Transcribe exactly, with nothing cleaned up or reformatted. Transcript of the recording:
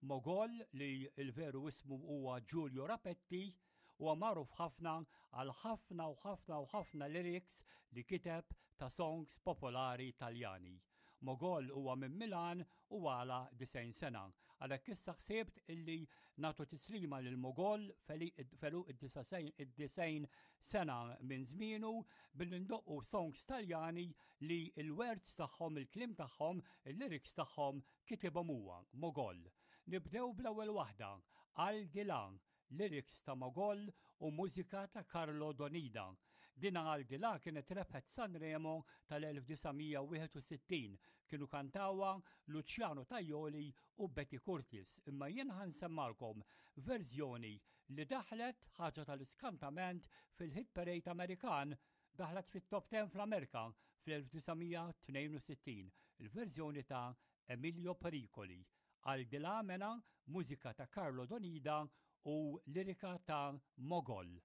Mogol, li il-veru ismu huwa Giulio Rapetti, huwa magħruf ħafna għal ħafna u ħafna u ħafna lyrics li kiteb ta' songs popolari Taljani. Mogol huwa minn Milan u għalaq disgħin sena. Għalhekk issa ħsibt illi nagħtu tislima lil Mogol f'għeluq id-disgħin sena minn żmienu billi ndoqqu songs Taljani li il-words tagħhom, il-kliem tagħhom, il-lyrics tagħhom kitibhom huwa Mogol. Nibdew bl-ewwel waħda, Al di là, lyrics ta' Mogol u mużika ta' Carlo Donida. Dina Al di là kienet rebħet Sanremo tal-elf disa' mija wieħed u sittin. Kienu kantawha Luciano Tajoli u Betty Curtis. Imma jien ħa nsemmagħlkom verżjoni li daħlet, ħaġa tal-iskantament, fil-hit parade Amerikan, daħlet fit-top ten fl-Amerika fl-elf disa' mija tnejn u sittin, il-verżjoni ta' Emilio Pericoli. Al di là mela, mużika ta' Carlo Donida u lirika ta' Mogol.